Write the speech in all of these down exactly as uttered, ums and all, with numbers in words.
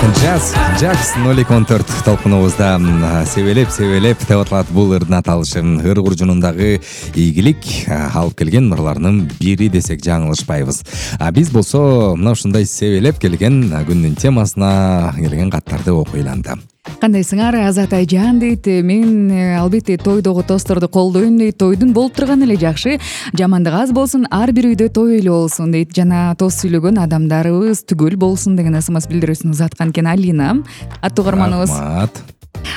Jazz, Jazz ноль эки он төрт толкунубузда себелеп себелеп деп аталат бул ырдын аталышы. Ыр куржунундагы ийгилик алып келген ырлардын бири десек жаңылышпайбыз. А биз болсо мына ушундай себелеп келген күндүн темасына келген каттарды окуйланды. Кандайсыңар Азат Айжан дейт. Мен албетте тойдогу тостторду колдойм дейт. Тойдун болуп турганы эле жакшы. Жамандык аз болсун, ар бир үйдө той эле болсун дейт. Жана тост сүйлөгөн адамдарыбыз түгөл болсун деген ысымас билдирүүсүн узаткан экен Алина. Аттуу угарманыбыз. Рахмат.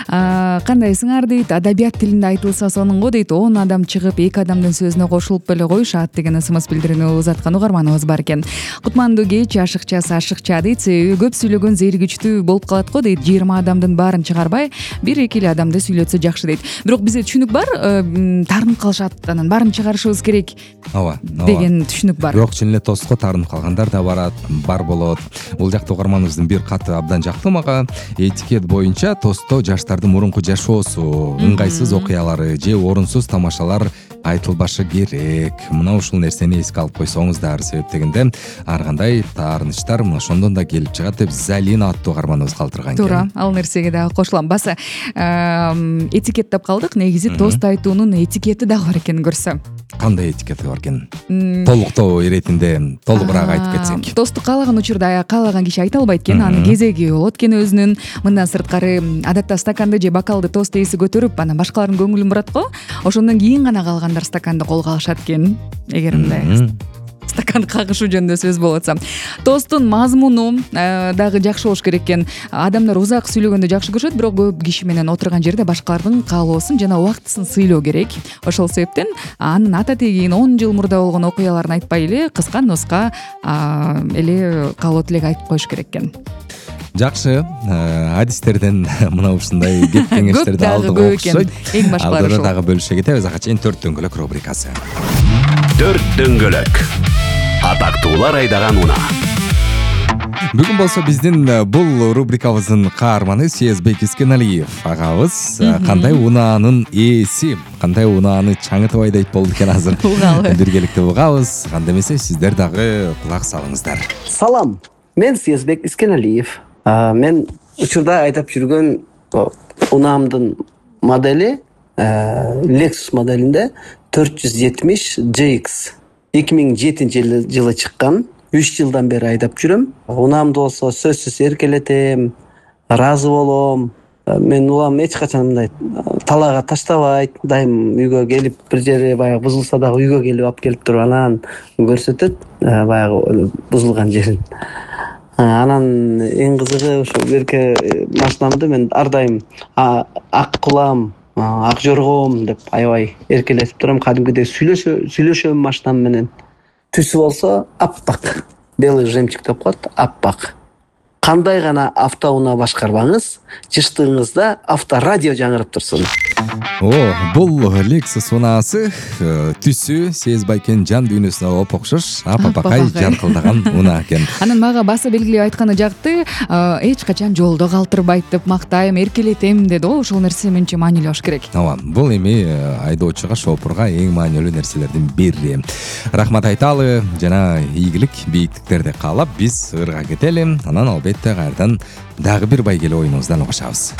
Кандайсыңар дейт. Адабият тилинде айтылса сонун го дейт. он адам чыгып эки адамдын сөзүнө кошулуп эле коюшат деген ысымас билдирүүнү узаткан угарманыбыз бар экен. Кутмандуу кеч, ашыкчасы ашыкча дейт. Себеби көп сүйлөгөн зээригичтүү болуп калат го дейт. жыйырма адамдын баарын чыгарбай, бир эки эле адамды сүйлөтсө жакшы дейт. Бирок бизде түшүнүк бар, таарынып калышат, анан баарын чыгарышыбыз керек. Ооба, деген түшүнүк бар. Бирок чын эле тостко таарынып калгандар да барат, бар болот. Бул жакта угарманыбыздын бир каты абдан жакты мага. Этикет боюнча тостто жаштардын мурунку жашоосу, ыңгайсыз окуялары же орунсуз тамашалар айтылбашы керек. Мына ушул нерсени эске алып койсоңуздар, себеп дегенде ар кандай таарынычтар мына ошондон да келип чыгат деп Залина аттуу угарманыбыз калтырган экен. Туура, ал нерсеге дагы кошулам. Баса этикет деп калдык. Негизи тост айтуунун этикети дагы бар экенин көрсөм. Кандай этикети бар экен? Толуктоо иретинде толугураак айтып кетсек. Тосту каалаган учурда каалаган киши айта албайт экен. Анын кезеги болот экен өзүнүн. Мындан сырткары адатта стаканды же бокалды тост ээси көтөрүп, анан башкалардын көңүлүн бурат го. Ошондон кийин гана калгандар стаканды колго алышат экен. Эгер мындай стаканды кагышуу жөнүндө сөз болуп атса. Тосттун мазмуну дагы жакшы болуш керек экен. Адамдар узак сүйлөгөндө жакшы көрүшөт, бирок көп киши менен отурган жерде башкалардын каалоосун жана убактысын сыйлоо керек. Ошол себептен анын ата тегин он жыл мурда болгон окуяларын айтпай эле кыска носка эле каалоо тилек айтып коюш керек экен. Жакшы, адистерден мына ушундай кеп кеңештерди алдык окшойт. Эң башкалары ушул. Дагы бөлүшө кетебиз. Ага чейин төрт дөңгөлөк рубрикасы. Төрт дөңгөлөк. Атактуулар айдаган унаа. Бүгүн болсо биздин бул рубрикабыздын каарманы Сезбек Искеналиев агабыз кандай унаанын ээси, кандай унааны чаңытып айдайт болду экен азыр. Биргеликте угабыз. Кандай эмесе сиздер дагы кулак салыңыздар. Салам. Мен Сезбек Искеналиев. Мен учурда айдап жүргөн унаамдын модели Lexus моделинде төрт жүз жетимиш джей икс. эки миң жетинчи жылы чыккан. үч жылдан бери айдап жүрөм. Унаамды болсо сөзсүз эркелетем, ыраазы болом. Мен улам эч качан мындай талаага таштабайт. Дайым үйгө келип бир жери баягы бузулса дагы үйгө келип алып келип туруп анан көрсөтөт баягы бузулган жерин. Анан эң кызыгы ошо берке машинамды мен ар дайым ак кулам, ак жоргом деп аябай эркелетип турам. Кадимкидей сүйлөшө сүйлөшөм машинам менен. Түсү болсо аппак. Белый жемчуг деп коет, аппак. Кандай гана автоунаа башкарбаңыз, жыштыгыңызда авторадио жаңырып турсун. О, бул Lexus унаасы түсү Сезбайкен жан дүйнөсүнө оп окшош, апапакай жаркылдаган унаа экен. Анан мага баса белгилеп айтканы жакты, эч качан жолдо калтырбайт деп мактайм, эркелетем деди го. Ошол нерсе менче маанилүү болуш керек. Ооба, бул эми айдоочуга, шофурга эң маанилүү нерселердин бири. Рахмат айталы жана ийгилик, бийиктиктерди каалап биз ырга кетели. Анан албетте кайрадан дагы бир байгеле оюнубуздан угушабыз.